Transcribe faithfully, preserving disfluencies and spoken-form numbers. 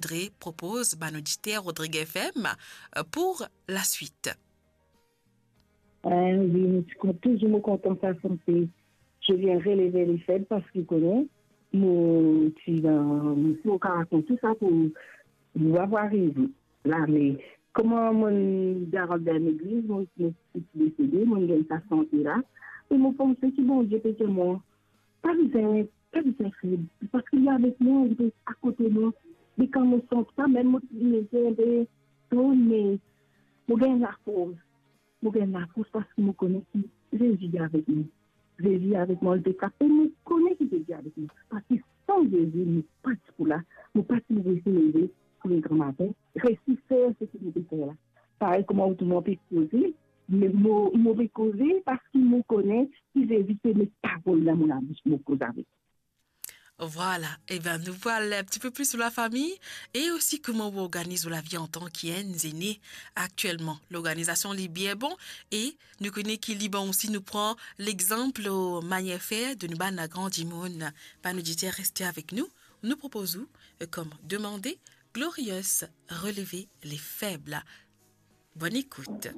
Audrey propoz bann oditer Rodrigue F M, euh, pour la suite. Euh, wi, mo ti kon-, touzour mo kontan sa sante. Je viens relever les faibles, parski kone, mo ti dan, mo ti mo karakter tou sa pou, pou avoir rive la, me kouma mo garan dan legliz, mo, mo ti desede, mo gagn sa sante la, e mo panse ki Bondie pe dir mwa, pa bizin, pa bizin feb, parski li avek mwa, li pe akote mwa. E kan mo santi sa, mem mo ti mete inpe ton, me mo gagn lafors. Mo gagn lafors parski mo kone ki Zezi li avek mwa. Zezi li avek mwa, li pe trap, e mo kone ki Zezi avek mwa. Parski san Zezi, mo pa ti pou la, mo pa ti pou resi leve pou le gran matin, resi fer seki mo pe fer la. Parey kouma ou tou mo pe koze, me mo, mo pe koze parski mo kone ki Zezi pe met parol dan mo labous, mo koz avek. Voilà, e ben nou vwala un petit peu plus sur la famille e osi kouma ou organiz ou lavi antan ki enn zene aktielman. Lorganizasion li bien bon e nou kone ki li bon osi, nou pran lexanp manier fer de nou bann gran dimoun. Bann oditer, reste avek nou. Nou propoz ou, euh, kom demande, Glorious, relever les faibles. Bonne écoute.